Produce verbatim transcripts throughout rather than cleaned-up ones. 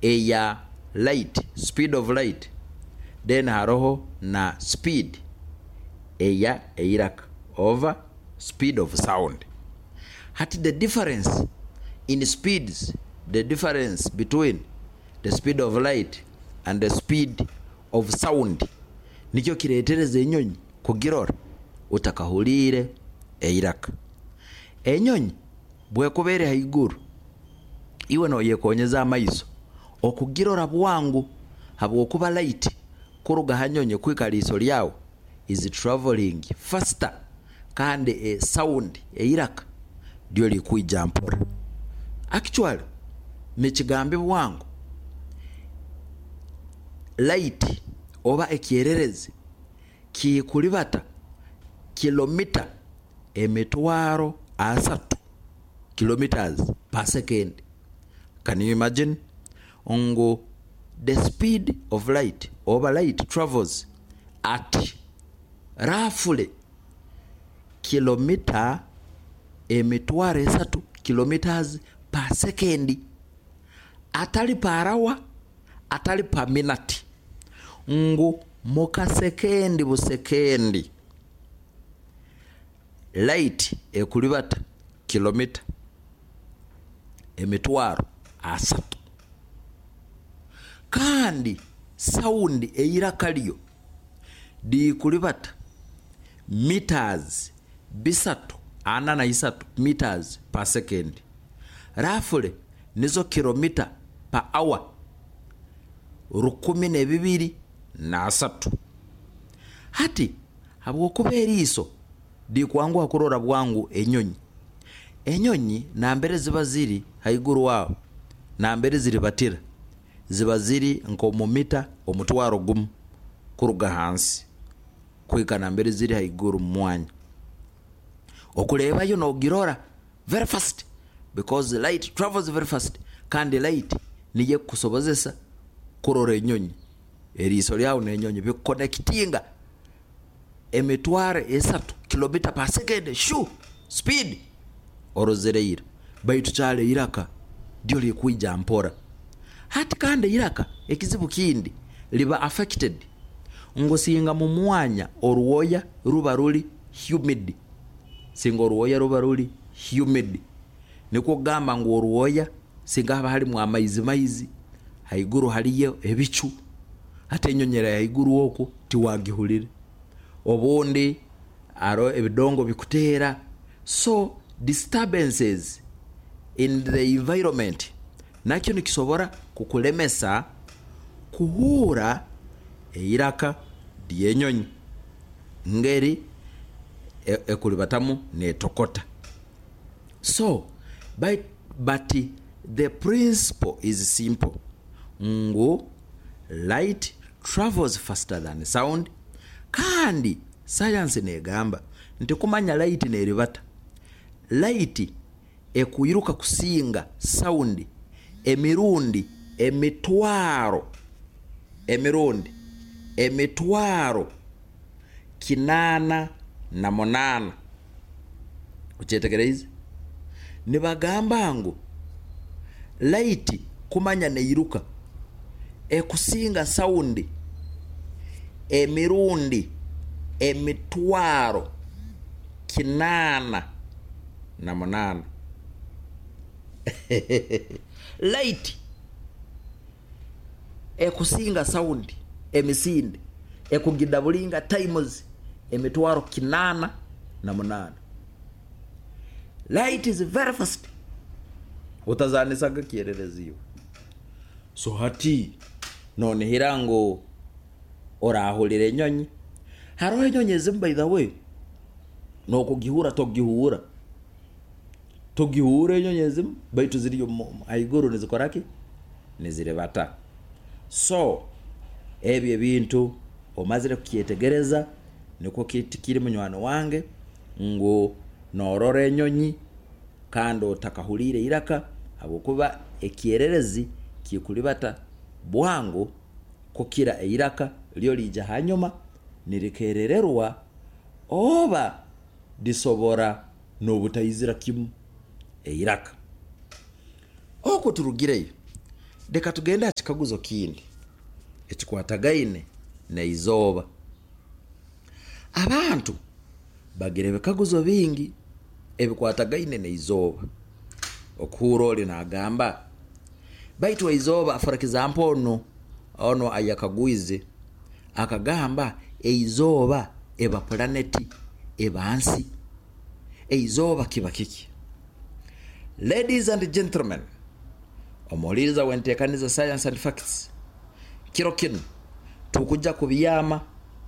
Eya light, speed of light, then haroho na speed eya eiraka over speed of sound. Hati the difference in speeds, the difference between the speed of light and the speed of sound, nikyo kireetereza enyonyi kugirora otakahuliire eiraka. Enyonyi bwekuba eri haiguru, iwe noyekonyeza amaiso okugirora bwangu, habwokuba light kuruga ha nyonyi kuhika ha liiso lyawe is travelling faster, kandi sound, eiraka, ryo lirikwija mpora. Actually nikigambibwa ngu light oba ekyererezi kikulibata kilomita emitwaro asatu, kilometers per second. Can you imagine ngu the speed of light oba light travels at roughly kilomita emitwaro esatu, kilometers per second, atali per hour, atali per minute, ngu mukasekendi busekendi light ekulibata kilomita emitwaro asatu, kandi sound, eiraka, ryo likulibata meters bisatu ana na isatu meters per second, roughly nizo kilomita per hour rukumi nebibiri naasatu. Hati habwokuba eriiso likwanguha kurora bwangu enyonyi, enyonyi nambere ziba ziri haiguru aho, nambere ziribatira, ziba ziri nk'omu mita omutwaro gumu kuruga hansi kuhika nambere ziri haiguru mumwanya. Okureebayo nogirora very fast because light travels very fast, kandi light niyo ekukusobozesa kurora enyonyi. Eriiso ryawe nenyonyi bikuconnectinga emitwaro esatu kilomita per second, shu speed orozere ira. Baitu kyali eiraka ryo lirikwija mpora. Hati kandi eiraka ekizibu kindi, liba affected ngu singa mumwanya orwoya ruba ruri humid, singa orwoya ruba ruri humid, nikwo kugamba ngu orwoya singa haba harumu amaizi maizi, haiguru hariyo ebicu, hati enyonyi eri haiguru oku tiwagihurra, obundi haroho ebidongo bikuteera, so disturbances in the environment nakyo nikisobora kukulemesa kuhuurra eiraka ryenyonyi ngeri ekuribatamu netokota. So but the principle is simple, ngu light travels faster than sound, kandi science negamba nti kumanya light neribata, light ekwiruka kusinga sound emirundi emitwaro emirundi emitwaro kinaana na munaana. Okyetegereize? Nibagamba ngu light kumanya neiruka ekusinga sound emirundi emitwaro kinaana na munaana. Light ekusinga sound emisinde ekugidoublinga times emitwaro kinaana na munaana. Light is very fast. Otazanisaga kyererezi iwe. So hati nonihira ngu orahurira enyonyi. Haroho enyonyi ezimu, by the way, nokugihurra togihuura, togihuura enyonyi ezimu, baitu ziri haiguru nizikora ki? Niziribata. So ebi ebintu omazire kukyetegereza, nikwo kiri munywani wange, ngu norora enyonyi kandi otakahuliire eiraka, habwokuba ekyererezi kikulibata bwangu kukira eiraka, ryo riija hanyuma nirikerererwa oba lisobora nobutaizira kimu eiraka. Oku turugireyo Leka tugende ha kikaguzo kindi ekikwatagaine n'eizooba. Abantu bagira ebikaguzo bingi ebikwatagaine n'eizooba. Okuhurra oli naagamba, baitu eizooba, for example, onu onu ayakagwize akagamba, eizooba eba planeti, eba nsi, eizooba kiba kiki? Ladies and gentlemen, omuhuliriza w'enteekaniza Science and Facts, kiro kinu tukujja kubyama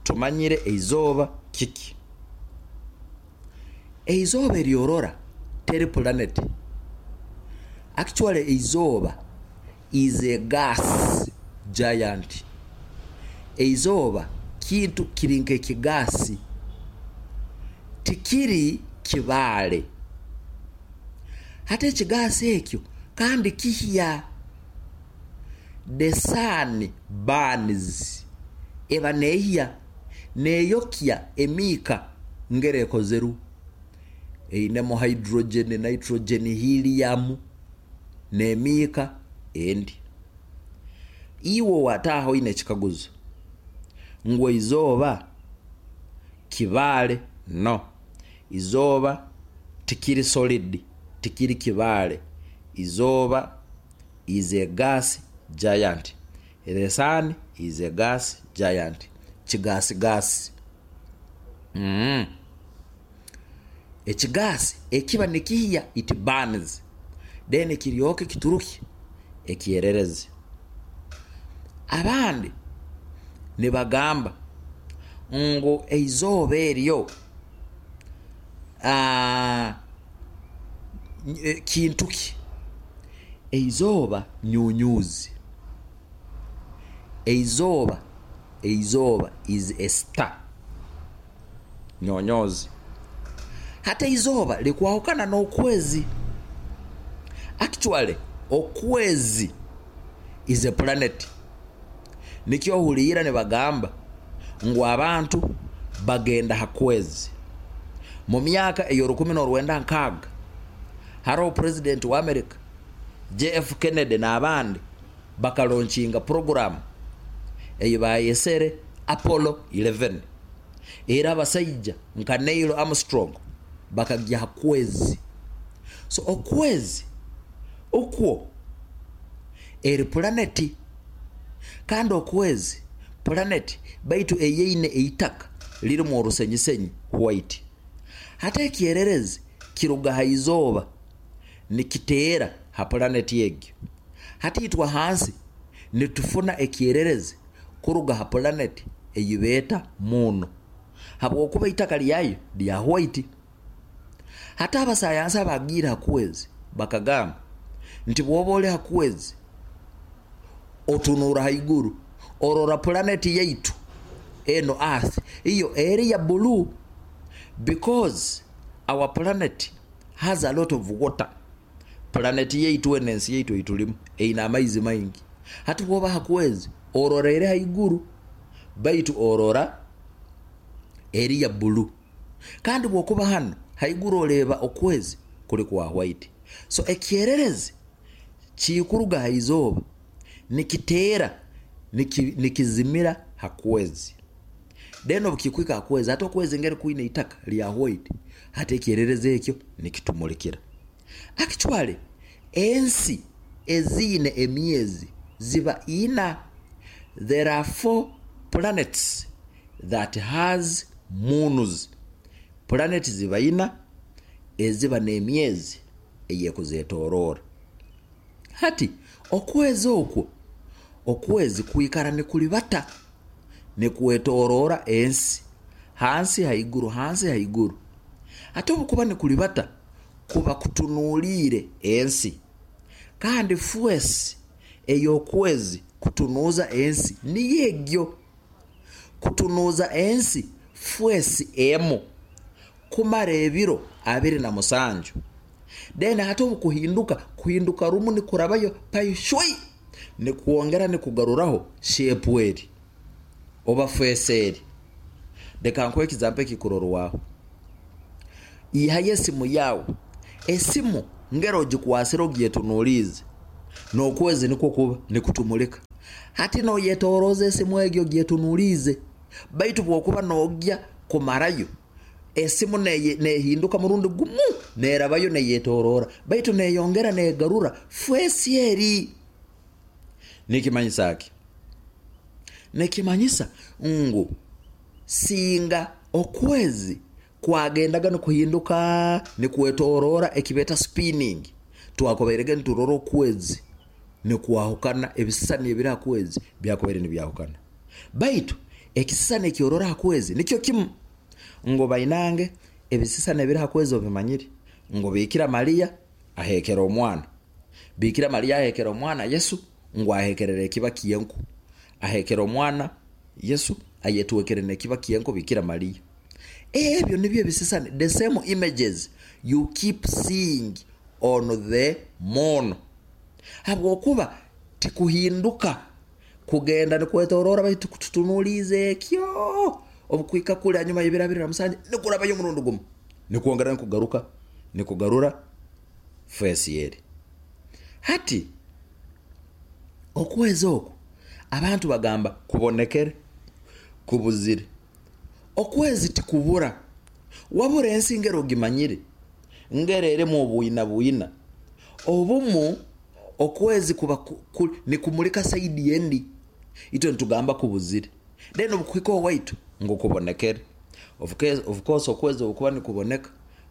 tumanyire eizooba kiki. Eizooba eryorora teri planet. Actually, eizooba is a gas giant. Eizooba kintu kiri nk'ekigaasi, tikiri kibaale. Hati ekigaasi ekyo kandi kihya. The sun burns, eba neehya, neeyokya emiika ngeri ekozerwe einemu hydrogen, nitrogen, helium n'emiika endi. Iwe wataaha oine ekikaguzo ngu eizooba kibaale. No, izooba tikiri solid, tikiri kibaale. Izooba is a gas giant. The sun is a gas giant, kigaasi. mm. Ekigaasi ekiba nikihya, it burns, then kiryoke kituruke ekyererezi. Abandi nibagamba ngu eizooba eryo aa, kintu ki? Eizooba nyunyuzi. Eizooba eizooba is a star, nyonyozi. Hati eizooba likwahukana n'okwezi. Actually, okwezi is a planet. Nikyo ohuliira nibagamba ngu abantu bagenda ha kwezi. Mu myaka ey'orukumi n'orwenda nkaaga, haroho president wa America J F Kennedy n'abandi bakalaunchinga program ei bayesere Apollo kkumi n'emwe, era abasaija nka Neil Armstrong bakagya ha kwezi. So okwezi okwo eri planeti, kandi okwezi planet baitu eyeine eitaka lirimu orusenyisenyi white. Hati ekyererezi kiruga ha izooba nikiteera ha planeti egyo. Hati itwe hansi nitufuna ekyererezi kuruga ha planeti ei beeta moon, habwokuba itaka lyayo lya white. Hati abasayansi abagiire ha kwezi bakagamba nti bwoba oli ha kwezi otunuura haiguru, orora planeti yaitu eno Earth, iyo eri ya blue, because our planet has a lot of water. Planeti yaitu eno, ensi yaitu eitulimu, eine amaizi maingi. Hati bwoba ha kwezi orora eri haiguru, baitu orora eri ya blue, kandi bwokuba hano haiguru oreeba okwezi kuli kwa white. So ekyererezi kikuruga ha izooba nikiteera nikizimira ha kwezi. Then obu kikuhika ha kwezi, hati okwezi ngeri kwine itaka lya white, hati ekyererezi ekyo nikitumulikira. Actually, ensi eziine emyezi ziba ina. There are four planets that has moons. Planet ziba ina eziba n'emyezi eyekuzetoroora. Hati okwezi okwo, okwezi kwikara nikulibata, nikwetoroora ensi, hansi haiguru, hansi haiguru. Hati obukuba nikulibata, kuba kutunuliire ensi, kandi face ey'okwezi kutunuuza ensi niyo egyo. Kutunuuza ensi face emu kumara ebiro abiri na musanju. Then hati obukuhinduka, kuhinduka rumu nikurabayo paishwei, nikwongera nikugaruraho shape eri oba face eri. Leka nkuhe example ekikurorwaho. Ihayo esimu yawe. Esimu ngeri ogikwasire, ogyetunuliize. N'okwezi nikwo kuba nikutumulika. Hati noyetoroza esimu egyo gyetunulize, baitu bwokuba nogya kumarayo esimu nehinduka murundi gumu, nerabayo neyetorora, baitu neyongera negarura fesi eri. Nikimanyisa ki? Nikimanyisa ngu singa okwezi kwagendaga nikuhinduka nikwetorora, ekibeta spinning, twakubairege niturora okwezi nikwahukana, ebisisani ebiri ha kwezi byakubaire nibyahukana. Baitu ekisisani ekyorora ha kwezi nikyo kimu. Ngu bainange ebisisani ebiri ha kwezi obimanyire ngu Bikira Maria ahekera omwana, Bikira Maria ahekera omwana Yesu, ngu ahekerera ekiba kyenku, ahekera omwana Yesu ayetwekere nekiba kyenku Bikira Maria. Ebyo nibyo ebisisani, the same images you keep seeing on the moon. Habwokuba tikuhinduka kugenda nikwetorora, baitu kututunulize ekyo obukwika kuli hanyuma y'ebiro abiri na musanju nikurabayo omurundi gumu, nikwongera nikugaruka nikugarura fesi eri. Hati okwezi oku abantu bagamba kubonekere kubuzire. Okwezi tikubura, wabura ensi ngero ogimanyire ngero erimu obwina bwina obumu. Okwezi kuba ku, nikumulika saidi endi, itwe nitugamba kubuzire, then obukuhika owaitu ngu kubonekere. Of course okwezi okuba nikuboneka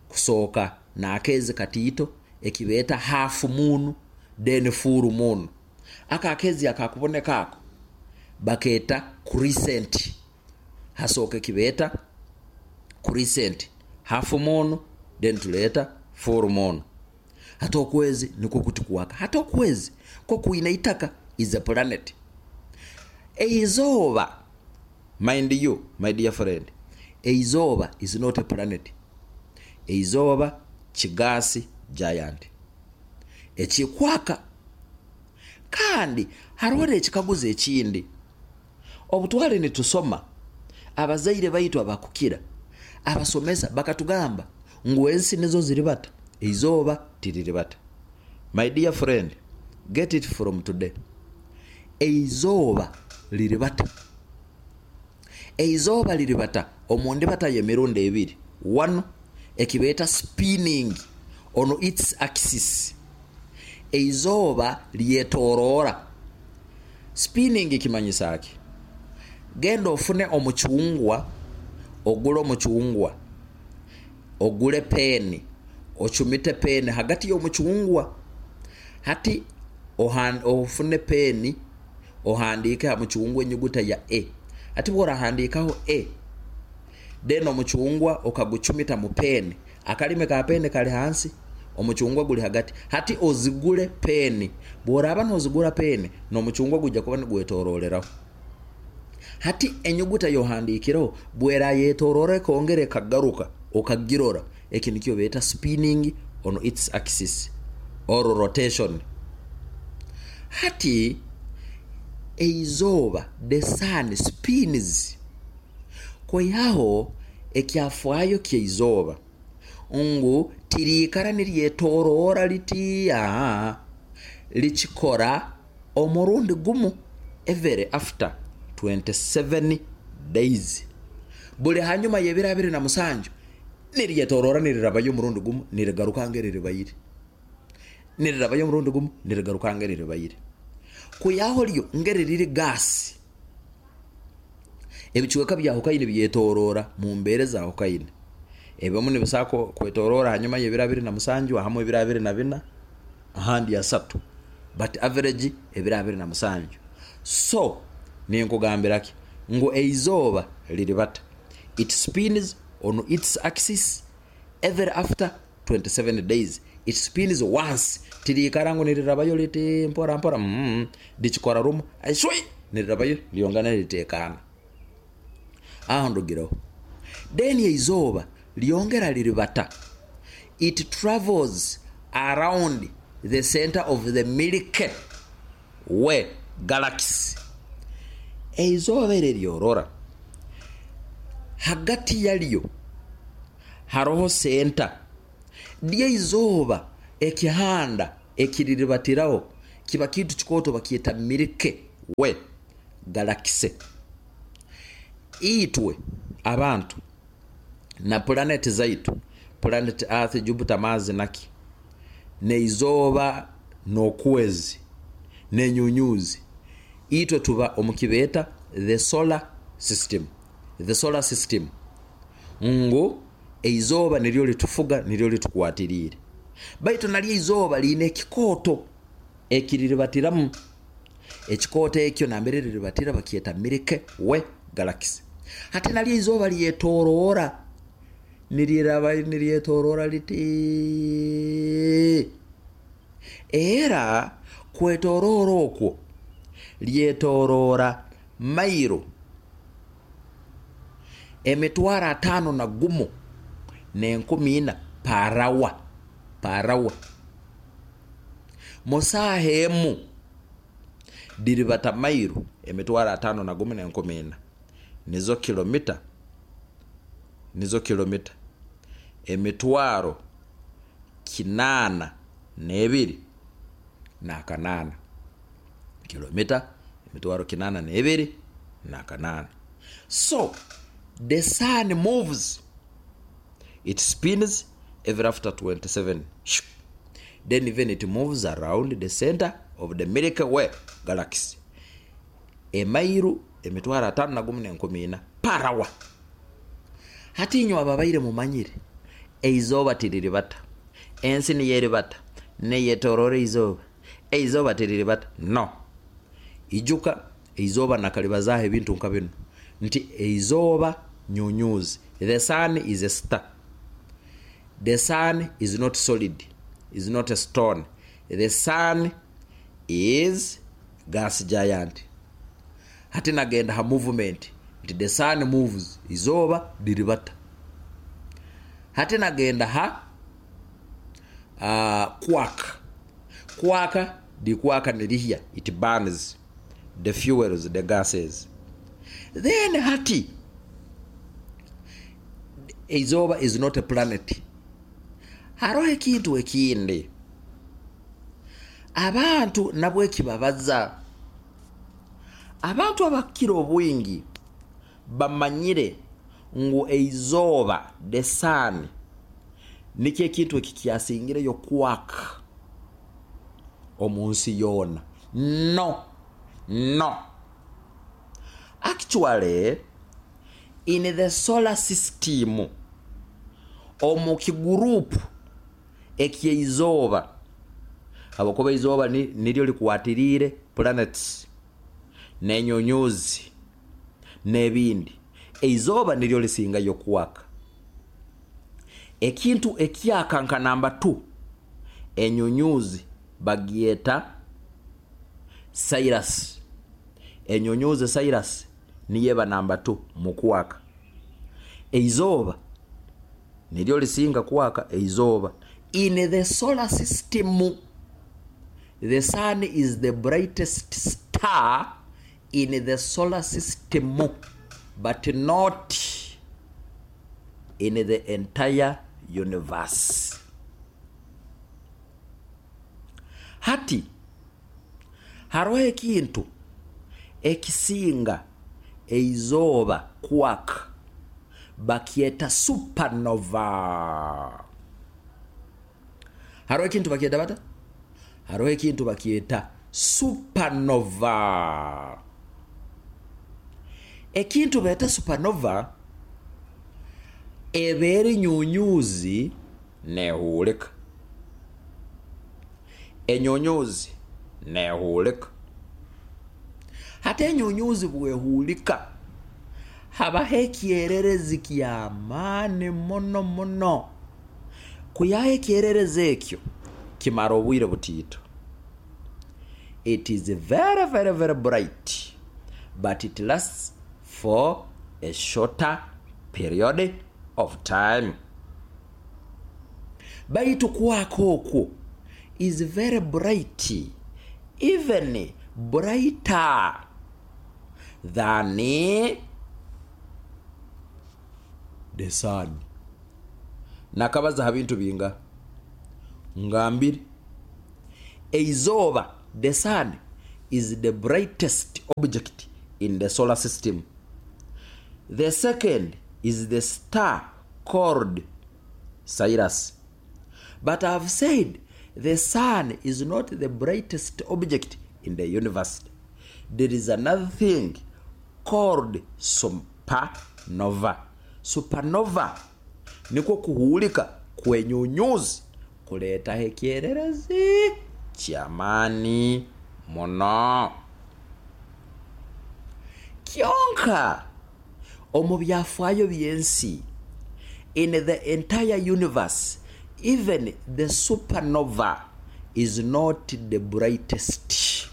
kusooka n'akeezi katiito ekibeeta half moon, then full moon. Aka akezi akakuboneka ako bakeeta crescent. Hasooka ekibeeta crescent, half moon, then tuleeta full moon. Hati okwezi nikwo kuti kuwaka. Hati okwezi ko kwina itaka, is a planet. Eizooba, mind you, my dear friend, eizooba is not a planet. Eizooba ki gas giant ekikwaka. Kandi hariho n'ekikaguzo ekindi. Obutwale nitusoma, abazaire baitu abakukira abasomesa bakatugamba ngu ensi nizo ziribata, eizooba tiriribata. My dear friend, get it from today, eizooba liribata. Eizooba liribata omundibata y'emirundi ebiri. One, ekibeeta spinning on its axis, eizooba lyetoroora. Spinning kimanyisa ki? Genda ofune omucungwa, ogule omucungwa, ogule peeni, ocumite peeni hagati y'omucungwa. Hati ofune peeni ohandiike ha mucungwa enyuguta ya A. Hati bworahandikaho A, then omucungwa okagucumita mu peeni, akalimi ka peeni kali hansi, omucungwa guli hagati. Hati ozigule peeni, bworaba nozigura peeni n'omucungwa gujja kuba nigwetororeraho. Hati enyuguta yohandikireho bwerayetorora ekongera ekagaruka okagirora, eki nikyo beeta spinning on its axis or rotation. Hati eizooba, the sun spins. Kwihaho ekyafaayo ky'eizooba ngu tiriikara niryetorora liti, aa likikora omurundi gumu every after twenty-seven days. Buli hanyuma y'ebiro abiri na musanju niryetorora nirirabayo omurundi gumu, nirigaruka ngeriribaire, nirirabayo omurundi gumu, nirigaruka ngeriribaire. Kwihaho ryo ngeri riri gas, ebicweka byahukaine byetorora mu mbeera zahukaine. Ebimu nibisobola kwetorora hanyuma y'ebiro abiri na musanju, ahamu ebiro abiri na bina, ahandi asatu, but average ebiro abiri na musanju. So ninkugambira ki? Ngu eizooba liribata, it spins on its axis every after twenty-seven days. It spins once, tiriikara ngu nirirabayo liti mpora mpora. mm, likikora rumu shwi nirirabayo lyongana niritekana aho ndugireho. Then eizooba lyongera liribata, it travels around the center of the Milky Way galaxy. Eizooba eri eryorora hagati yaryo haroho center ly'eizooba, ekihanda ekiriribatiraho. Kiba kintu kikooto bakyeta Milky Way galaxy. Itwe abantu na planet zaitu, planet Earth, Jupiter, Mars, naki neizooba n'okwezi n'enyunyuzi, itwe tuba omu kibeeta the solar system. The solar system, ngu eizooba niryo litufuga, niryo litukwatiriire. Baitu nalyo eizooba liine ekikooto ekiriribatiramu. Ekikooto ekyo nambere riribatira bakyeta Milky Way galaxy. Hati nalyo eizooba lyetoroora, niriraba niryetoroora liti, era kwetoroora okwo lyetoroora mairo emitwaro ataano na gumu n'enkumi ina per hour, per hour. Mu saaha emu diribata mairo emitwaro ataano na gumu n'enkumi ina, nizo kilomita nizo kilomita emitwaro kinaana n'ebiri n'akanaana, kilomita emitwaro kinaana n'ebiri n'akanaana. So the sun moves, it spins every after twenty-seven, then even it moves around the center of the Milky Way galaxy emairu emitwaro ataano na gumu n'enkumi ina per hour. Hati inywe ababaire mumanyire eizooba tiriribata, ensi niyo eribata, neyetoroora eizooba, eizooba tiriribata. No ijuka eizooba nakalibazaaho ebintu nka binu nti eizooba nyunyuzi. The sun is a star. The sun is not solid, is not a stone. The sun is gas giant. Hati nagenda ha movement nti the sun moves, izooba liribata. Hati nagenda ha uh, kwaka kwaka likwaka nirihya, it burns the fuels, the gases. Then hati eizooba is not a planet. Haroho ekintu ekindi abantu nabwo ekibabaza. Abantu abakira obwingi bamanyire ngu eizooba, the sun, nikyo ekintu ekikyasingireyo kwaka omu nsi yoona. No, no, actually in the solar system, omu kigurupu eky'eizooba, habwokuba eizooba niryo likwatiriire planets n'enyunyuzi n'ebindi, eizooba niryo lisingayo kwaka. Ekintu ekyaka nka namba two, enyunyuzi bagyeta Sirius. Enyunyuzi Sirius niyo eba namba two mu kwaka. Eizooba niryo lisinga kwaka. Eizooba, in the solar system, the sun is the brightest star in the solar system, but not in the entire universe. Hati haroho ekintu ekisinga eizooba kwaka, bakyeta supernova. Haroho ekintu bakyeta bata? Haroho ekintu bakyeta supernova. Ekintu beeta supernova eba eri nyunyuzi nehuulika, enyunyuzi nehuulika. Hati enyunyuzi bwehuulika habaho ekyererezi ky'amaani muno muno. Kwihaho ekyererezi ekyo kimara obwire butiito. It is very very very bright, but it lasts for a shorter period of time. Baitu kwaka okwo is very bright, even brighter than the sun. Nakabaza ha bintu binga ngambire. Eizooba The sun is the brightest object in the solar system. The second is the star called Sirius. But I've said the sun is not the brightest object in the universe. There is another thing called supernova. Supernova nikwo kuhuulika kwenyunyuzi kuleetaho ekyererezi kyamaani muno. Kyonka omu byafaayo by'ensi, in the entire universe, even the supernova is not the brightest.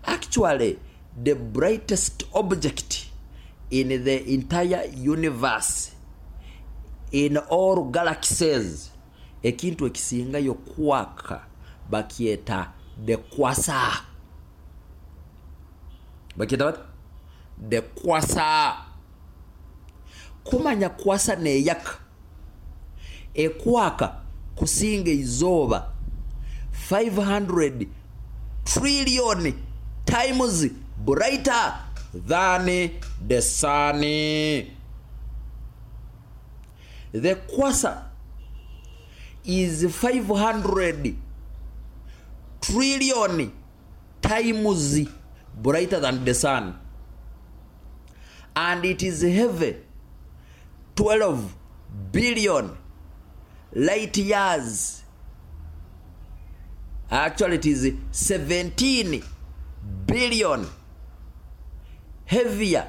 Actually, the brightest object in the entire universe, in all galaxies, ekintu ekisingayo kwaka bakyeta the quasar. Bakyeta bata? The quasar. Kumanya quasar neyaka, ekwaka kusinga izooba five hundred trillion times brighter than the sun. The quasar is five hundred trillion times brighter than the sun, and it is heavy twelve billion light years. Actually, it is seventeen billion heavier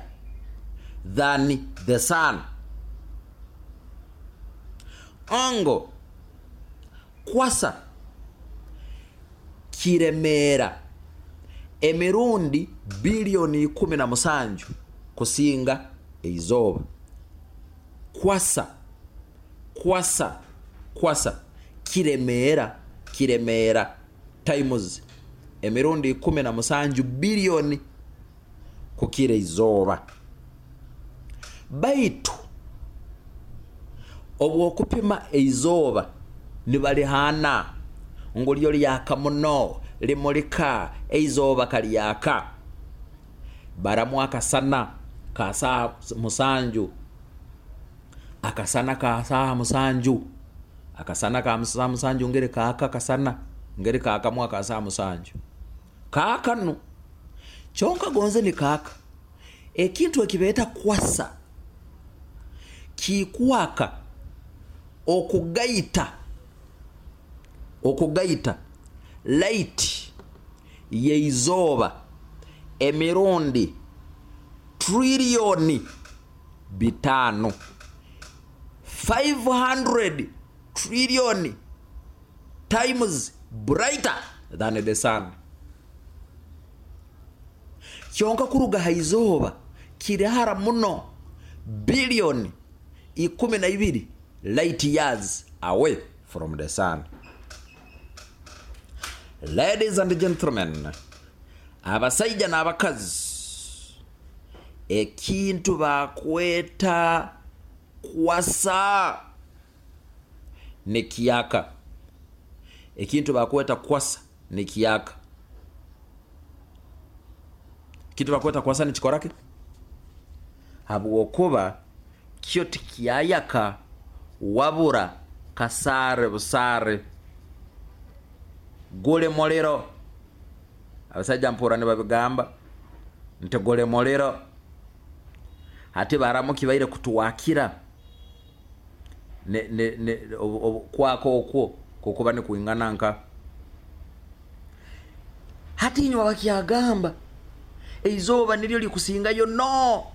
than the sun. Ongo quasar kiremeera emirundi biliyoni ikumi na musanju kusinga eizooba. Quasar, quasar, quasar kiremeera kiremeera times emirundi ikumi na musanju biliyoni kukira izooba. Baitu obwokupima eizooba nibalihana ngu lyo lyaka muno, limulika. Eizooba kalyaka baramu akasana ka saaha musanju, akasana ka saaha musanju, akasana ka saaha musanju ngeri kaaka, akasana ngeri kaakamu aka saaha musanju kaakanu kyonka gonze ni kaaka. Ekintu ekibeeta quasar kikwaka okugaita okugaita light yeizooba emirundi triliyoni bitaano, five hundred trillion times brighter than the sun. Kyonka kuruga ha izooba kiri hara muno, biliyoni ikumi na ibiri light years away from the sun. Ladies and gentlemen, abasaija n'abakazi, ekintu bakweta quasar nikiyaka. Ekintu bakweta quasar nikiyaka. Ekintu bakweta quasar nikikoraki? Habwokuba kyo tikyayaka, wabura kasaare busaare gule muliro. Abasajja mpura nibabigamba nti gule muliro. Hati baramu kibaire kutuwakira ne, ne, ne, kwaka okwo kukuba nikuingana nka hati. Inywa bakyagamba eizooba niryo likusingayo. No,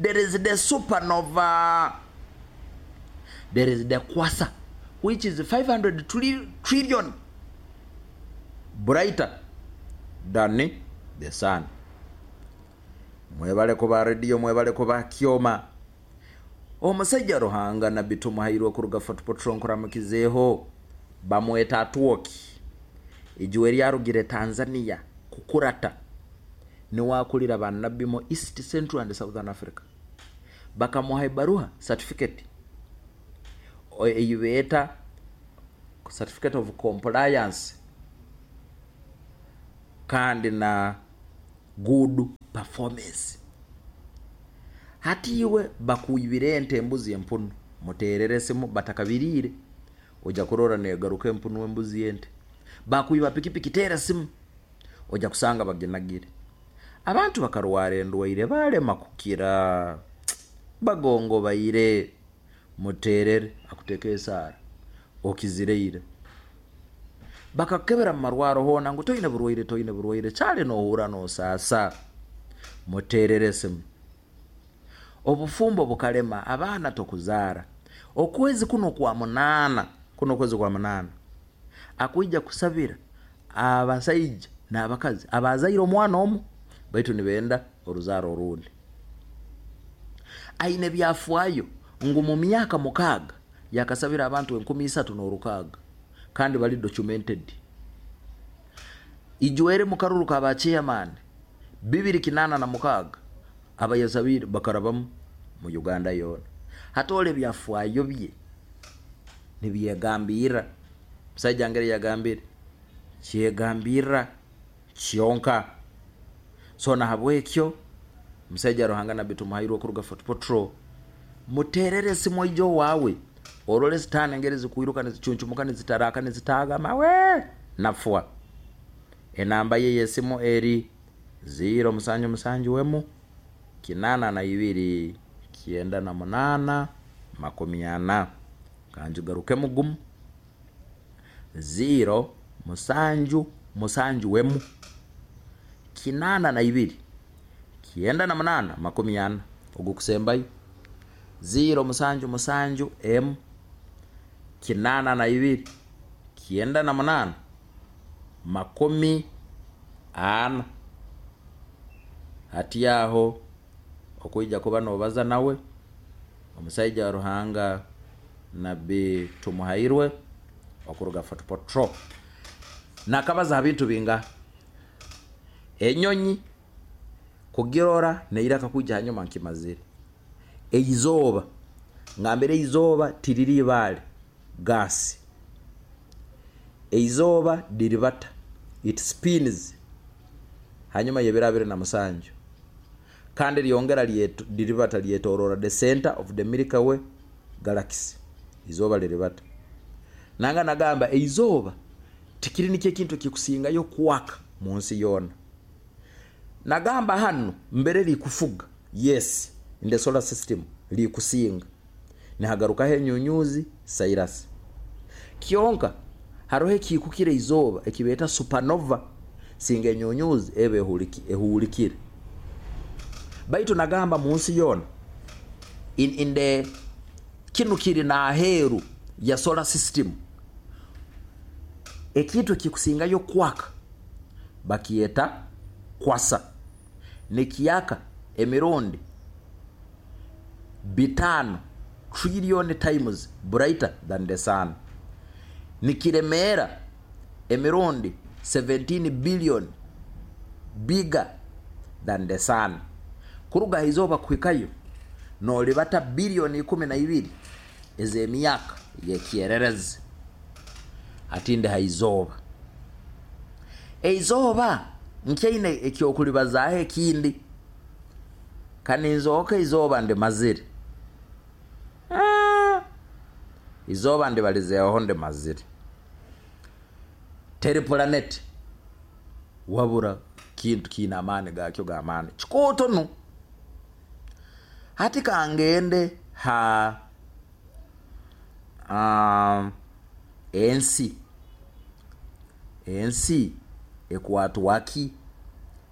there is the supernova, there is the quasar, which is five hundred trillion brighter than the sun. Mwebale kuba rediyo, mwebale kuba kyoma. Omusajja Ruhanga Nabbi Tumuhairwe kuruga Fort Portal nkuramukizeeho. Bamweta Atwoki ijuwe lyarugire Tanzania kukurata niwakulira bannabbi mu East, Central and Southern Africa. Bakamuha ebaruha, certificate eyibeeta certificate of compliance. Kandi na good performance. Hati iwe bakwibire ente, embuzi, empunu, muterere esimu batakabiriire, ojja kurora negaruka empunu, embuzi, ente. Bakwiba pikipiki, teera esimu, ojja kusanga baginagire. Abantu bakarwara endwaire balema kukira, bagongobaire, muterere akuteeka esaara okizireire. Bakakukebera mu marwaro hoona ngu toine burwaire, toine burwaire, kyali nohurra nosaasa, muterere esimu. Obufumbo bukalema, abaana tokuzaara, okwezi kuno kwa munaana, kuno okwezi kwa munaana akwija kusabira abasaija n'abakazi abazaire omwana omu baitu nibenda oruzaaro orundi. Aine byafaayo ngu mu myaka mukaaga yakasabira abantu enkumi isatu n'orukaaga, kandi bali documented. Ijwere mu karuru ka ba chairman bibiri kinaana na mukaaga abayasabiire bakarabamu mu Uganda yoona. Hati ebyafaayo bye nibyegambirra. Musaija ngeri yagambire kyegambirra kyonka. So nahabwekyo musaija Ruhanga Nabbi Tumuhairwe kuruga Fort Portal, muterere esimu oije owaawe orole sitaani engeri zikwiruka nizicuncumuka nizitaraka nizitaaga mawe nafwa. Enamba ye y'esimu eri ziro musanju musanju emu kinaana na ibiri kyenda na munaana makumi ana. Kanjigarukemu gumu, ziro musanju musanju emu kinaana na ibiri kyenda na munaana makumi ana. Ogukusembayo ziro musanju musanju emu kinaana na ibiri kyenda na munaana makumi ana. Hati aho okwija kuba nobaza nawe omusaija wa Ruhanga Nabbi Tumuhairwe okuruga Fort Portal. Nakabaza ha bintu bingaha? Enyonyi kugirora neiraka kwija hanyuma nkimazire. Eizooba, ngambire eizooba tiriri ibaale, gas. Eizooba diribata, it spins hanyuma y'ebiro abiri na musanju, kandi lyongera diribata lyetorora the center of the Milky Way galaxy. Izooba liribata. Nanga nagamba eizooba tikiri nikyo ekintu ekikusingayo kwaka mu nsi yoona. Nagamba hanu mbere likufuga, yes, in the solar system likusinga, nihagarukaho enyunyuzi Sirius. Kyonka haroho ekikukira izooba ekibeeta supernova, singa enyunyuzi eba ehulikire. Baitu nagamba mu nsi yoona in, in the kinu kiri n'aheeru ya solar system, ekintu ekikusingayo kwaka bakyeta quasar, nikyaka emirundi bitaano trillion times brighter than the sun, nikiremeera emirundi seventeen billion bigger than the sun. Kuruga ha izooba kuhikayo nolibata biliyoni ikumi na ibiri ez'emyaka y'ekyererezi. Hatinde ha izooba, eizooba nkyaine ekyokulibazaaho ekindi. Kaninzooka izooba ndimazire, ah, izooba ndibalizeeho ndimazire. Teri planet wabura kintu kiine amaani gakyo g'amaani kikooto nu. Hati kangende ha um, ensi. Ensi ekwatwa ki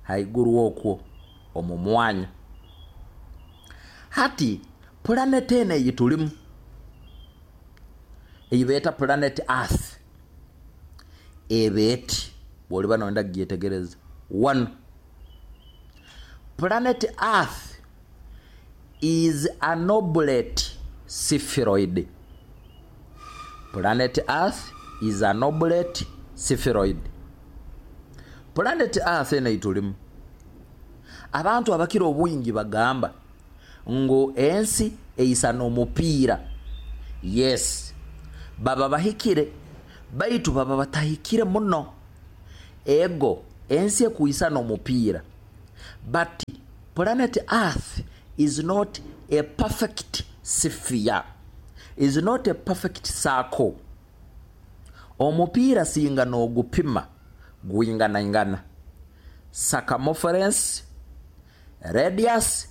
haiguru okwo omu mwanya? Hati planet eno eyi tulimu eyibeeta planet Earth eba eti, bwoliba noyenda kugyetegereza. One, planet Earth is an oblate spheroid. Planet Earth is an oblate spheroid. Planet Earth eno eitulimu, abantu abakira obwingi bagamba ngu ensi eisana omupiira. Yes, baba bahikire, baitu baba batahikire muno. Ego. Ensi ekwisana omupiira, but planet Earth is not a perfect sphere, is not a perfect circle. Omupiira singa n'ogupima gwinganaingana circumference, radius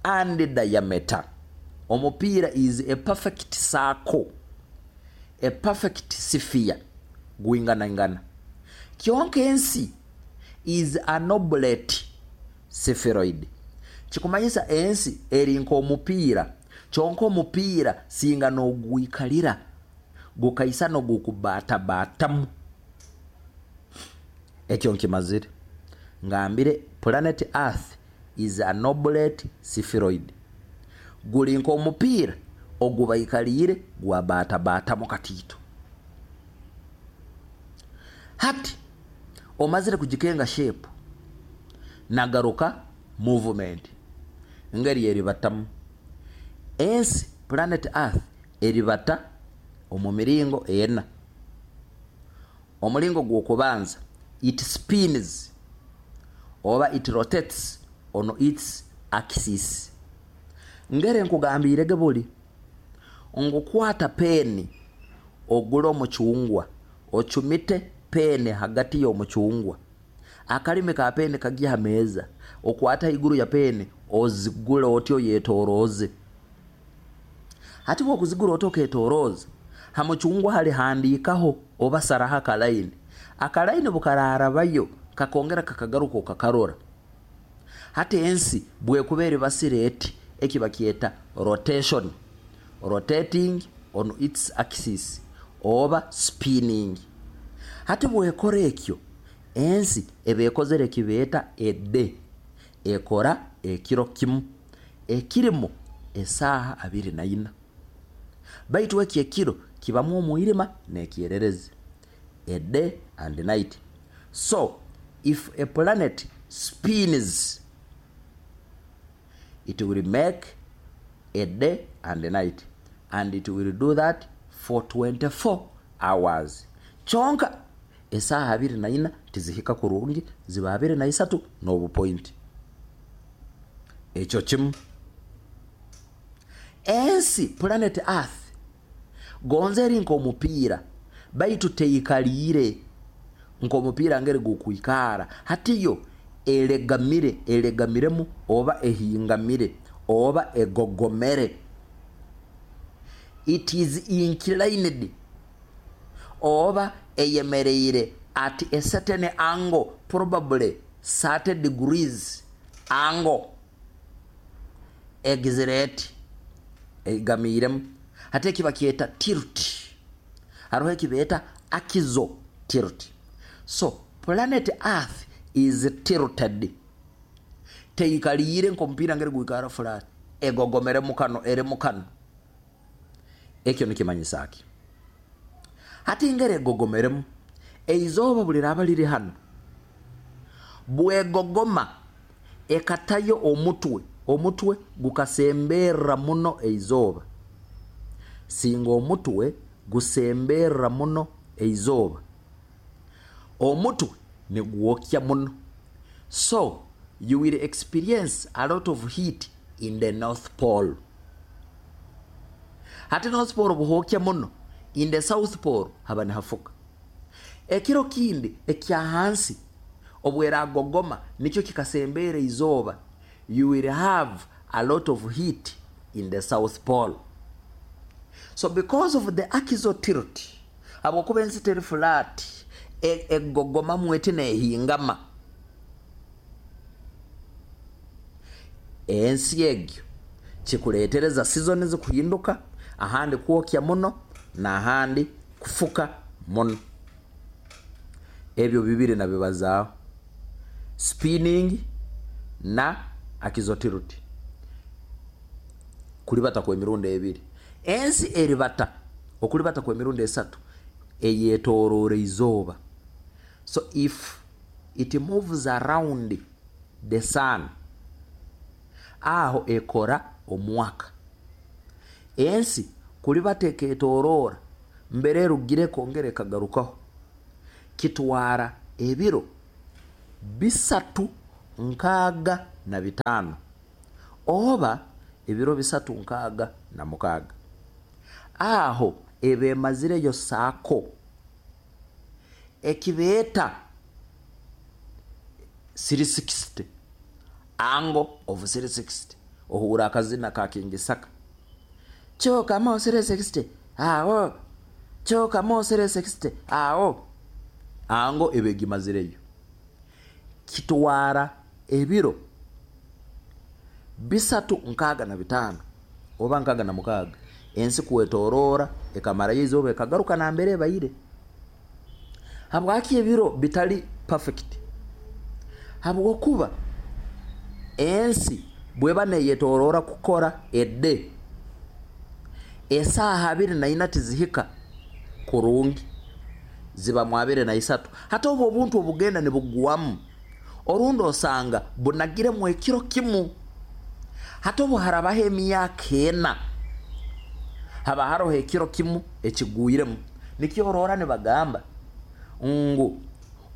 and diameter. Omupiira is a perfect circle, a perfect sphere, gwinganaingana. Kyonka ensi is an oblate spheroid. Kikumanyisa ensi eri nk'omupiira, kyonka omupiira singa n'ogwikalira gukaisana ogukubaatabaatamu. Ekyo nkimazire ngambire, planet Earth is an oblate spheroid, guli nk'omupiira ogubaikaliire gwabaatabaatamu katiito. Hati omazire kugikenga shape, nagaruka movement ngeri eribatamu. Ensi, planet Earth, eribata omu miringo ena. Omulingo gw'okubanza, it spins oba it rotates on its axis. Ngere nkugambirege buli ngukwata peeni, ogule omucungwa, ocumite peeni hagati y'omucungwa, akalimi ka peeni kagye ha meeza, okwate haiguru ya peeni ozigule oti oyetorooze. Hati bwokuzigura oti oketorooza ha mucungwa, hali handiikaho oba saraho akalaini. Akalaini bukararabayo kakongera kakagaruka okakarora. Hati ensi bwekuba eribasire eti, eki bakyeta rotation, rotating on its axis oba spinning. Hati bwekora ekyo, ensi eba ekozere ekibeeta a day, ekora ekiro kimu ekirimu esaaha abiri na ina, baitu eki ekiro kibamu omwirima n'ekyererezi, a day and night. So if a planet spins, it will make a day and a night, and it will do that for twenty-four hours. Kyonka esaaha abiri na ina tizihika kurungi, ziba abiri na isatu n'obupointi. Ekyo kimu. Ensi, planet Earth, gonza eri nk'omupiira, baitu teikaliire nk'omupiira ngeri gukwikara. Hati yo elegamire, elegamiremu oba ehingamire oba egogomere, it is inclined oba eyemereire at a certain angle, probably thirty degrees angle. Egizire eti, egamiiremu. Hati eki bakyeta tilt. Hariho ekibeeta axial tilt. So planet Earth is tilted, teikaliire nk'omupiira ngeri gwikara flat, egogomere mukano, eri mukano. Ekyo nikimanyisa ki? Hati ngeri egogomeremu, eizooba buli raba liri hano, bwegogoma ekatayo omutwe, omutwe gukasemberra muno eizooba. Singa omutwe gusemberra muno eizooba, omutwe nigwokya muno, so you will experience a lot of heat in the North Pole. Hati North Pole buhokya muno, in the South Pole haba nihafuka. Ekiro kindi ekyahansi obweragogoma nikyo kikasembera izooba, you will have a lot of heat in the South Pole. So because of the axial tilt, habwokuba ensi teri flat, egogomamu eti nehingama, ensi egyo kikuletereza seasons kuhinduka, ahandi kwokya muno n'ahandi kufuka muno. Ebyo bibiri nabibazaaho, spinning na axial tilt. Kulibata kw'emirundi ebiri, ensi eribata okulibata kw'emirundi esatu, eyetoroora izooba. So if it moves around the sun, aho ekora omwaka. Ensi kulibata eketoroora mbere erugire ekongera ekagarukaho, kitwara ebiro bisatu nkaaga na bitaano oba ebiro bisatu nkaaga na mukaaga. Aho eba emazireyo saako ekibeeta three sixty, angle of three sixty. Ohuura akazina ka King Saka, kyokamo three sixty, awo kyokamo three sixty, awo angle eba egimazireyo. Kitwara ebiro bisatu nkaaga na bitaano oba nkaaga na mukaaga ensi kwetoroora ekamarayo izooba, ekagaruka nambere ebaire. Habwaki ebiro bitali perfect? Habwokuba ensi bweba neyetoroora kukora ede, esaaha abiri na ina tizihika kurungi, ziba mu abiri na isatu. Hati obwo obuntu obugenda nibugwamu, orundi osanga bunagiremu ekiro kimu. Hati obu harabaho emyaka ena, haba haroho ekiro kimu ekigwiremu. Nikyo orora nibagamba ngu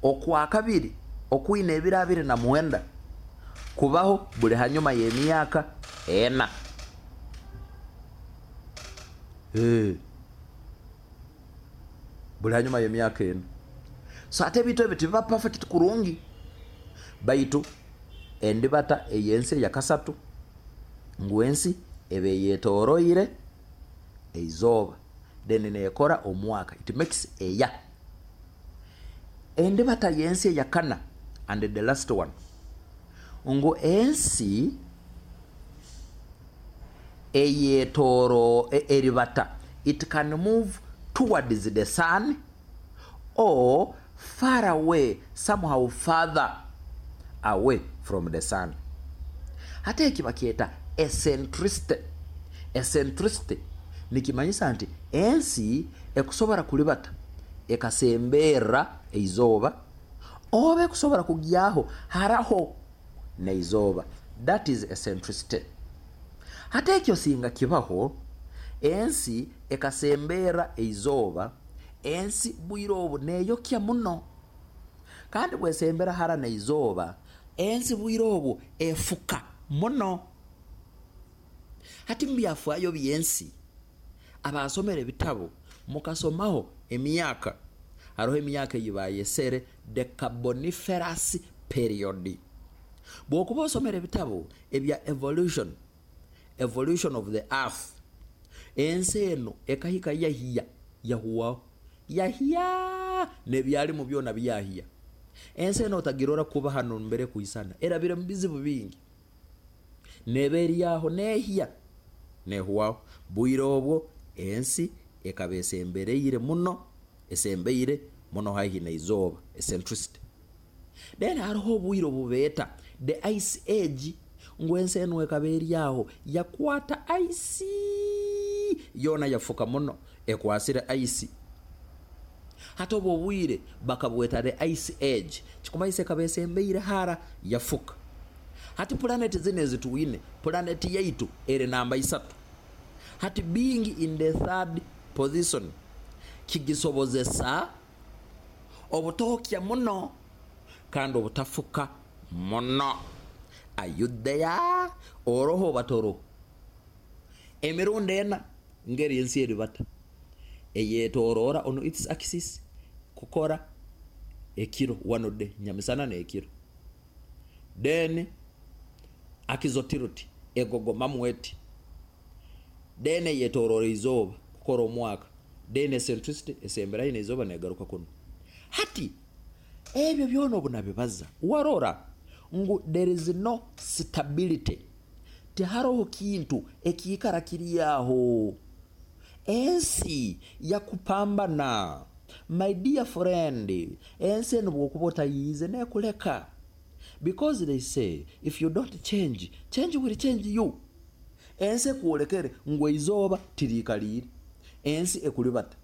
okwakabiri okwine ebiro abiri na mwenda kubaho buli hanyuma y'emyaka ena. Eh. Buli hanyuma y'emyaka ena. So ate ebintu ebyo tibiba perfect kurungi. Baitu endibata ey'ensi eyakasatu ngu ensi eba eyetoroire eizooba, then nekora omwaka, it makes a year. Endibata y'ensi eyakana, and the last one, ngu ensi eyetoro e- eribata, it can move towards the sun or far away, somehow farther away from the sun. Hati eki bakyeta eccentricity. Eccentricity nikimanyisa nti ensi ekusobora kulibata ekasemberra eizooba oba ekusobora kugyaho haraho neizooba. That is eccentricity. Hati ekyo singa kibaho, ensi ekasemberra eizooba, ensi bwire obu neyokya muno, kandi bwesembera hara neizooba, ensi bwire obwo efuka muno. Hati mubyafaayo byensi, abasomere ebitabo mukasomaho emyaka, haroho emyaka ei bayesere the Carboniferous Period. Bwokuba osomere ebitabo ebya evolution, evolution of the earth, ensi eno ekahika yahiya, yahuwaho, yahiya nebyalimu byona byahiya. Ensi eno otagirora kuba hano mbere kuisana, erabire mu bizibu bingi, neba eryaho nehiya, nehuwaho. Bwire obwo ensi ekaba esembereire muno, esembeire muno haihi neizooba, eccentricity. Then hariho obwire obubeeta the Ice Age, ngu ensi enu ekaba eryaho yakwata ice yoona, yafuka muno, ekwasire ice. Hati obwo obwire bakabweta the Ice Age, kikumanyisa ekaba esembeire hara, yafuka. Hati pulaneti zino ezitwine, pulaneti yaitu eri namba isatu. Hati being in the third position kigisobozesa obutokya muno kandi obutafuka muno. Ayudeya oroho batoroho emirundi ena ngeri ensi eribata eyetoroora on its axis kukora ekiro, one day, nyamisana nekiro, then axial tilt egogomamu eti, then eyetoroora izooba kukora omwaka, then eccentricity esemberayo neizooba negaruka kuno. Hati ebyo byona obunabibaza, warora ngu there is no stability, tiharoho kintu ekiikara kiri aho. Ensi yakupambana, my dear friend. Ensi enu bwokuba otayiize nekuleka, because they say if you don't change, change will change you. Ensi ekwolekere ngu eizooba tiriikaliire, ensi ekulibata.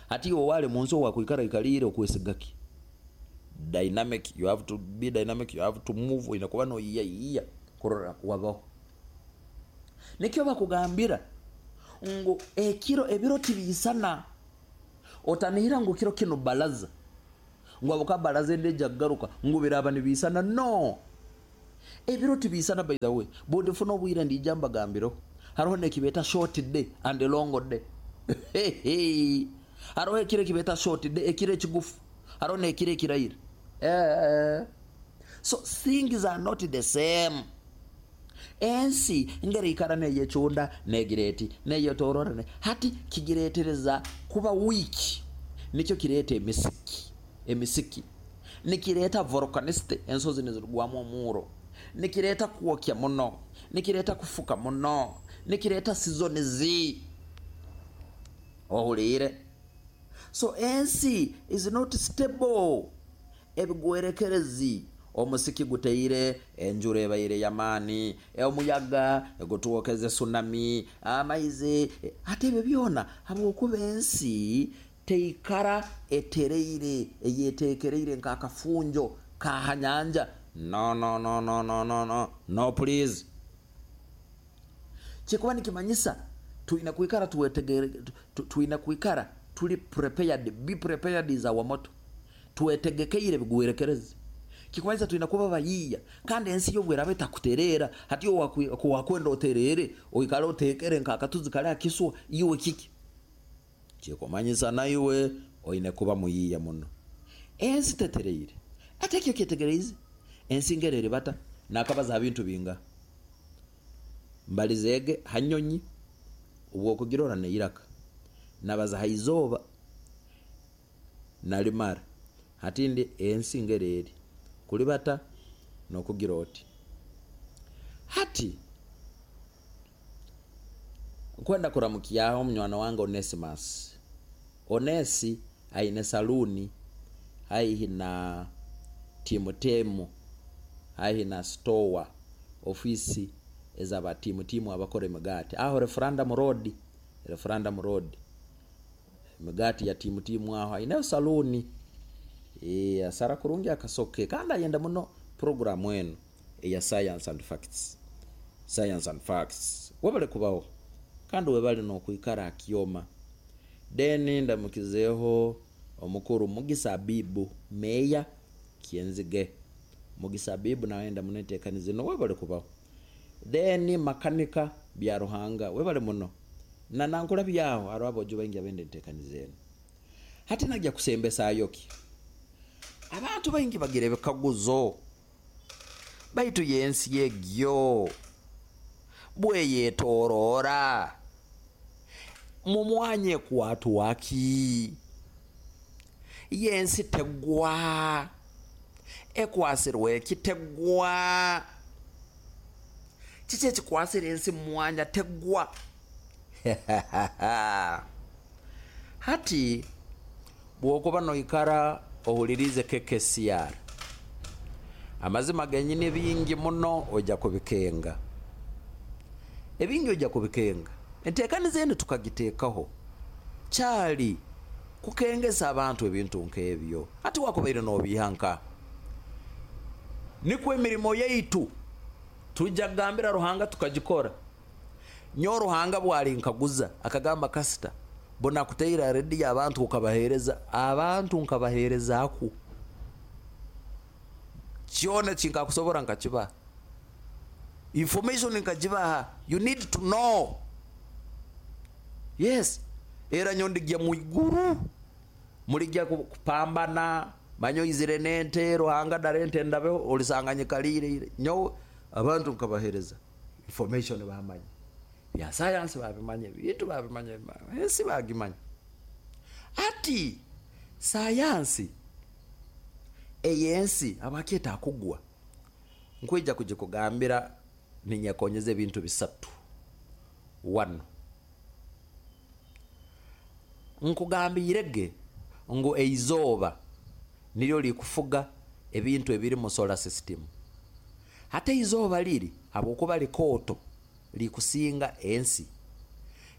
Hati iwe wali munsi owakwikara ikaliire, okwesigaki? Dynamic, you have to be dynamic, you have to move. Oine kuba noyiyayiya kurora wabaho. Nikyo bakugambira ngu ekiro, ebiro tibiisana. Otanihira ngu kiro kinu balaza, Ngu abukabaraza endeja kugaruka ngu biraba nibisana. No, ebiro tibisana. By the way, bundifuna obwire ndija mbagambiro, hariho nekibeta short day and long day. Hariho ekiro ekibeta short day, ekiro ekigufu, hariho nekiro ekiraire. Eh, so things are not the same. Ensi ngereikara neyecunda negireti neyetorora, hati kigiretereza kuba weak. Nikyo kireta emisiki, emisiki nikireta volcanicity, ensozi nizirugwamu omuro, nikireta kwokya muno, nikireta kufuka muno, nikireta seasons. Ohuliire? So ensi is not stable. Ebigwerekerezi, omusiki guteire, enjura ebaire yamaani, omuyaga gutwokeze, tsunami, amaizi. Ate ebyo byona habwokuba ensi teikara etereire, eyetekereire nk'akafunjo kahanyanja. No, no, no, no, no, no, no, no, please. Kikuba nikimanyisa twina kwikara tuwetegere, twina kwikara tuli prepared. Be prepared is our motto. Twetegekeire bigwerekerezi, kikumanyisa twina kuba bayiya. Kandi ensi yobweraba etakuterera, hati wakwenda oterere, oikale otekere nk'akatuzi kali akiswa iwe kiki? Kikumanyisa naiwe oine kuba muyiya muno. Ensi tetereire. Ate ekyo kyetegereize ensi ngerere bata nakabaza bintu binga mbalizege hanyonyi ubwokugirora neiraka, nabaza haizoba nalimara. Hatindi ensi ngerere kulibata nokugira oti. Hati nkwenda kuramukiyaho munywana wange Onesimus. Onesi aine saluni haihi na Timotemo, haihi na store, ofisi ezaba Timotemo abakora emigati aho Referendum Road, Referendum Road, emigati ya Timotemo, aho aine saluni. E asara kurungi akasoke, kandi ayenda muno programu eno eya Science and Facts. Science and Facts, webale kubaho kandi webale nokwikara akioma. Then ndamukizeho omukuru Mugisa Bibu, meya Kienzige. Mugisa Bibu nawe ndamunetekanize no, webale kubaho. Then makanika bya Ruhanga, webale muno na nankula byaho aro abojo baingi abende ntekanize eno. Hati najya kusembesa ayoki abantu baingi bagira ebikaguzo, baitu yensi yegyo bweyetorora mumwanye kwatwaki? Yensi tegwa, ekwasirwe ekitegwa? Kiki ekikwasira ensi mumwanya tegwa? Hati bwokuba noikara ohulirize K K C R, amazima genyini bingi muno ojja kubikenga, ebingi ojja kubikenga. Enteekaniza eno tukagiteekaho kyali kukengesa abantu ebintu nk'ebyo. Ati wakubaire n'obihanka nikwo emirimo yaitu tujja kugambira Ruhanga tukagikora. Nyo Ruhanga bwali nkaguza akagamba, "Kasita bona kuteira rediyo abantu ukabahereza, abantu nkabahereza aku kyona kinkakusobora nkakibaha, information nkagibaha. You need to know." Yes, era nyo ndigya mwiguru mulijja kupambana manyo izire nente Ruhanga dare ente ndabeho olisanganyikaliire. Nyo abantu nkabahereza information, bamanye bya science, babimanye bintu, babimanye ensi, bagimanye. Ati sayansi eyensi abakyeta akugwa, nkwija kugikugambira ninyekonyeza ebintu bisatu wano. Nkugambirege ngu eizoba niryo likufuga ebintu ebiri mu solar system. Hate izooba liri habwokuba likooto likusinga ensi,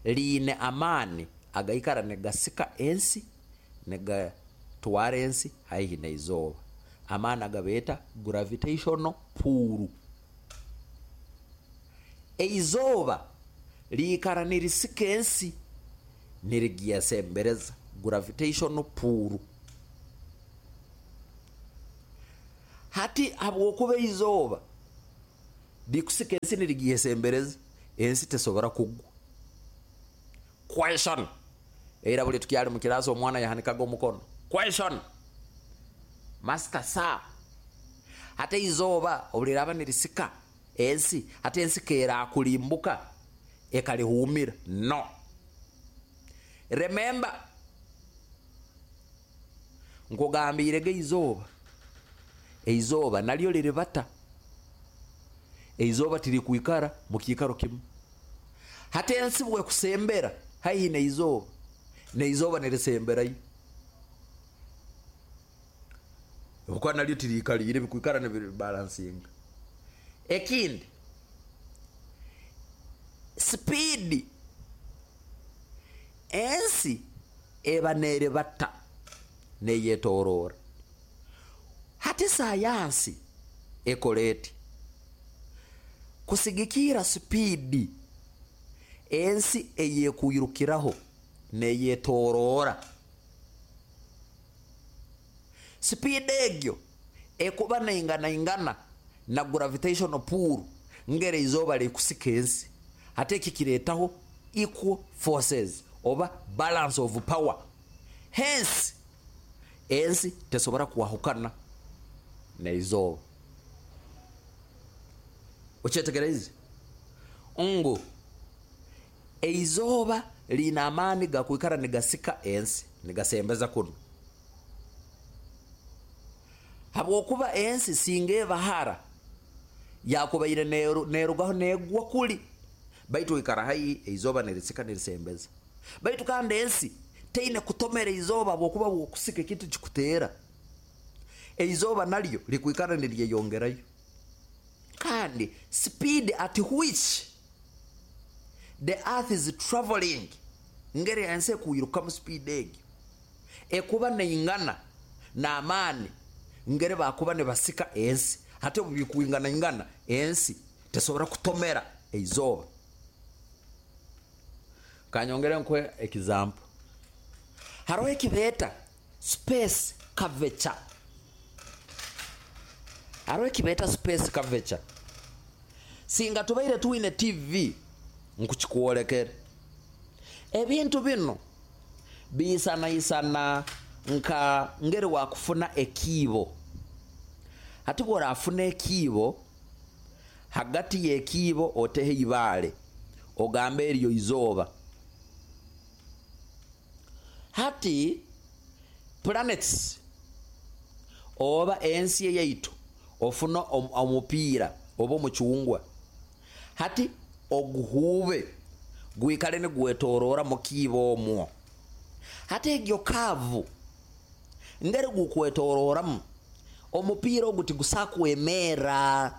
liine amaani agaikara negasika ensi negatwara ensi haihi neizooba, amaani agabeeta gravitational pull. Eizooba liikara nirisika ensi nirigyasembereza, gravitational pull. Hati habwokuba izooba likusika ensi nirigyesembereza, ensi tesobora kugwa. Question era buli tukyali mu kirasi omwana yahanikaga omukono. Question, master sir, hati izooba obuliraba nirisika ensi, hati ensi kerakulimbuka ekalihumira? No. Remember, nkugambirege izooba, eizooba nalyo liribata. Eizooba tirikwikara mu kiikaro kimu. Hati ensi bwekusembera haihi neizooba, neizooba nirisemberayo, kuba nalyo tiriikaliire, bikwikara nibibalansinga. Ekindi, speed ensi eba neribata neyetorora. Hati sayansi ekora eti kusigikira speed ensi eyekwirukiraho neyetorora. Speed egyo ekuba neinganaingana na gravitational pull ngere izooba likusika ensi. Hati eki kiretaho equal forces oba balance of power, hence ensi tesobora kwahukana neizooba. Okyetegereze ngu eizooba liina amaani gakwikara nigasika ensi nigasembeza kuno, habwokuba ensi singa ebahara yakubaire nerugaho negwa kuli, baitu ikara haihi eizooba nirisika nirisembeza. Baitu kandi ensi teine kutomera izooba habwokuba bwokusika ekintu kikuteera. Eizooba nalyo likwikara niryeyongerayo. Kandi speed at which the earth is traveling, ngeri ensi ekwirukamu speed egyo ekuba neingana n'amaani ngeri bakuba nibasika ensi. Hati obu bikwinganaingana, ensi tesobora kutomera eizooba. Kanyongere nkuhe example. Hariho ekibeeta space curvature. Hariho ekibeeta space curvature. Singa tubaire twine T V nkukikwolekere. Ebintu bino biisanaisana nka ngeri wakufuna ekiibo. Hati bworafuna ekiibo, hagati y'ekiibo oteho ibaale, ogambe eryo izooba. Hati planets oba ensi eyaitu, ofuna omupiira oba omucungwa, hati oguhuube gwikale nigwetorora mu kiibo omwo. Hati egyo curve ngeri gukwetororamu, omupiira ogu tigusa kwemera.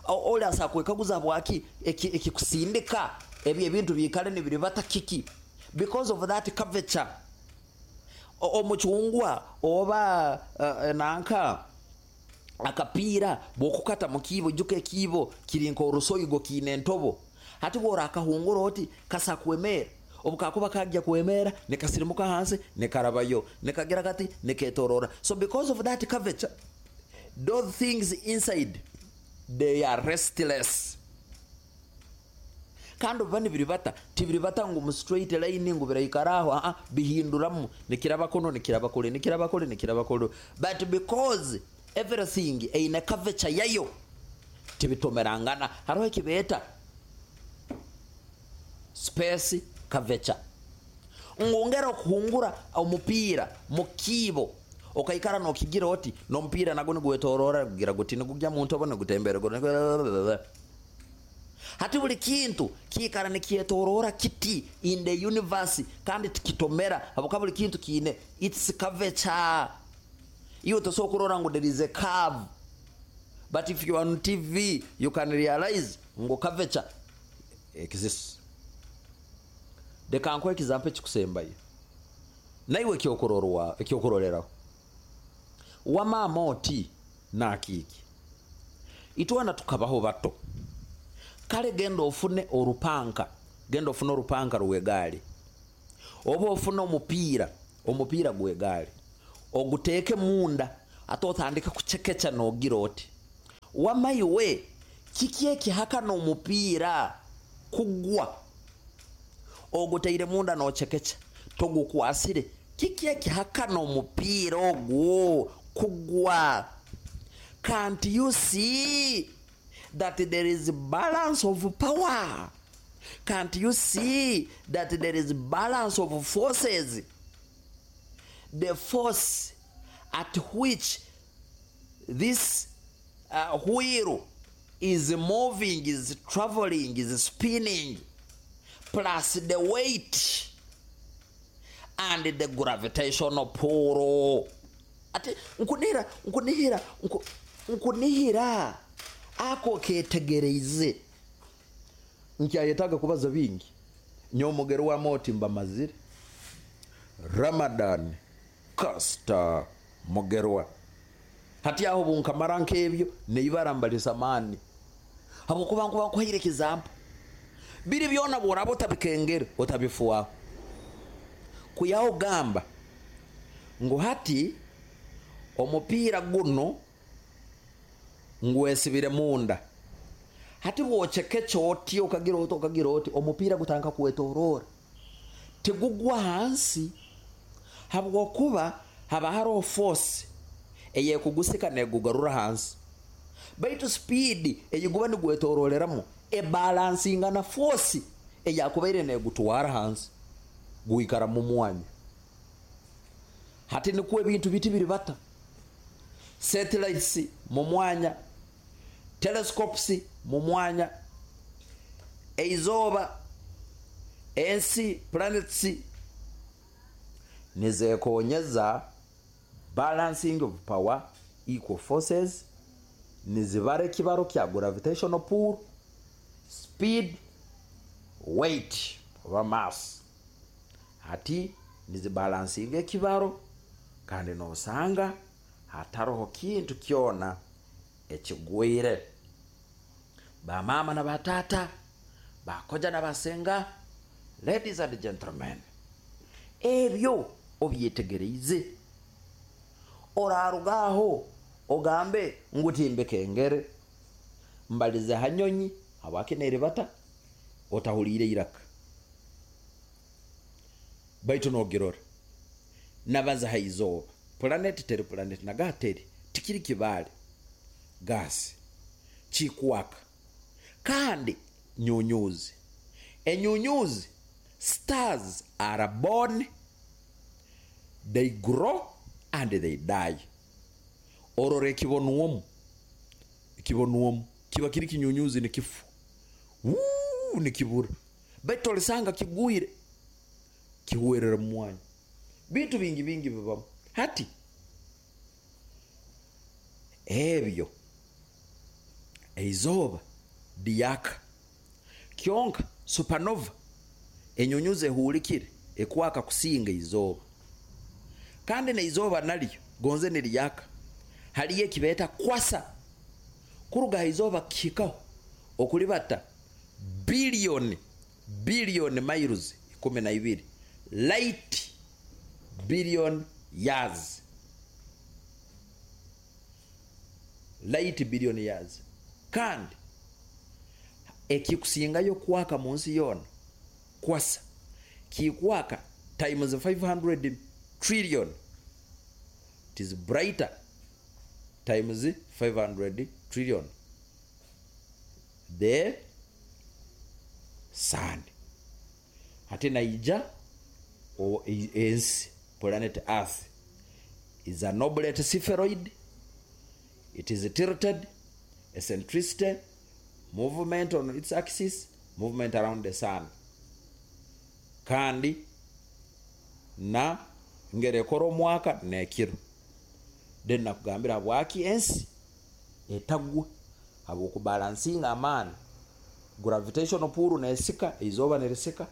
Oli asa kwekaguza bwaki ekikusindika ebyo ebintu biikale nibiribata kiki? Because of that curvature. Omucungwa oba uh, nanka akapiira bwokukata mu kiibo, ijuka ekiibo kiri nk'orusoigo kiine entobo. Hati bworakahungura oti kasa kwemera, obukakuba kajja kwemera nikasirimuka hansi nikarabayo nikagira kati niketorora. So because of that curvature, those things inside, they are restless. Kandi obuba nibiribata, tibiribata ngu mu straight line ngu biraikara aho, aa bihinduramu, nikiraba kuno, nikiraba kule, nikiraba kule, nikiraba kule. But because everything eine curvature yayo, tibitomerangana. Hariho ekibeeta space curvature, ngongera okuhungura omupiira mu kiibo okaikara nokigira oti nomupiira nagwo nigwetorora kugira guti nigugya mu ntobo nigutembera. Hati buli kintu kiikara nikyetorora kiti in the universe, kandi tikitomera habwokuba buli kintu kiine its curvature. Iwe tosobola kurora ngu there is a curve, but if you are on T V you can realize ngu curvature exists. Leka nkuhe example ekikusembayo naiwe ekyokurorwa ekyokuroreraho. Wamaama oti nakiiki itwana tukabaho bato. Kale genda ofune orupanka, genda ofune orupanka rw'egaali oba ofune omupiira, omupiira gw'egaali. Oguteeke munda, ate otandike kucekeca noogira oti, wama iwe, kiki ekihakana omupiira kugwa? Oguteire munda noocekeca, togukwasire. Kiki ekihakana omupiira ogu kugwa? Can't you see that there is balance of power? Can't you see that there is balance of forces? The force at which this uh, wheel is moving, is traveling, is spinning, plus the weight and the gravitational pull. Ati nkunihira, nkunihira, nku, nkunihira ako ketegereize. Nkyayetaaga kubaza bingi. Nyomugero wa moti mbamazire. Ramadan Kasta Mugerwa. Hati aho bunkamara nk'ebyo neibara mbalisa maani, habwokuba nkuba nkuhaire ekizampo. Biri byona bworaba otabikengere, otabifuaho. Kuyaho gamba ngu hati omupiira guno ngwesibire munda. Hati bwocekeca oti, okagira oti, okagira oti, omupiira gutandika kwetorora, tigugwa hansi, habwokuba haba haroho force eyekugusika negugarura hansi. Baitu speed eyiguba nigwetororeramu ebalansinga na force eyakubaire negutwara hansi, guikara mu mwanya. Hati nikwo ebintu biti biri bata. Satellites mu mwanya, telescopes mu mwanya, eizooba, ensi, planets nizekonyeza balancing of power, equal forces, nizibara ekibaro kya gravitational pull, speed, weight oba mass. Hati nizibalansinga ekibaro, kandi nosanga hataroho kintu kyona ekigwire. Bamama na batata, bakoja na basenga, ladies and gentlemen, ebyo obyetegereize. Orarugaho ogambe ngu timbekengere, mbalize hanyonyi habwaki neribata, otahuliire iraka, baitu nogirora. Nabaza haizooba, planet teri, planet nagateri tikiri kibale, gasi kikwaka, kandi nyunyuzi, enyunyuzi, stars are born, they grow and they die. Orora ekibonwomu, ekibonwomu kiba kiri kinyunyuzi nikifu, wuu, nikibura, baitu olisanga kigwire, kihwerera mu mwanya. Bintu bingi bingi bibamu. Hati ebyo eizooba diyaka kyonka supernova, enyunyuzi ehulikire ekwaka kusinga izooba. Kandi neizooba nalyo gonze niriyaka, haliyo ekibeeta kwasa, kuruga izooba kihikaho okulibata billion billion miles ikumi na ibiri, light billion years, light billion years. Kandi ekikusingayo kwaka mu nsi yoona kwasa kikwaka times five hundred trillion. It is brighter times five hundred trillion the sun. Hati naija o ensi, planet Earth is an oblate spheroid. It is tilted, eccentricity, movement on its axis, movement around the sun. Kandi na ngerekora omwaka nekiro. Then nakugambira habwaki ensi etagwa, habwokubalansinga amaani, gravitational pull nesika, izooba nerisika,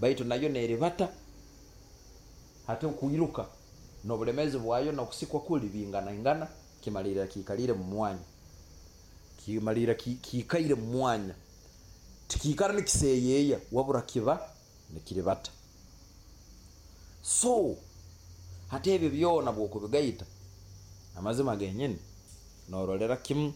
baitu nayo neribata. Hati okuiruka n'obulemezi bwayo n'okusikwa kuli bingana ingana, kimalira kikalire mu mwanya, kimalira kikaire mu mwanya, tikikara nikiseyeya, wabura kiba nikiribata. So Hati ebyo byona bwokubigaita, amazima genyini norolera kimu.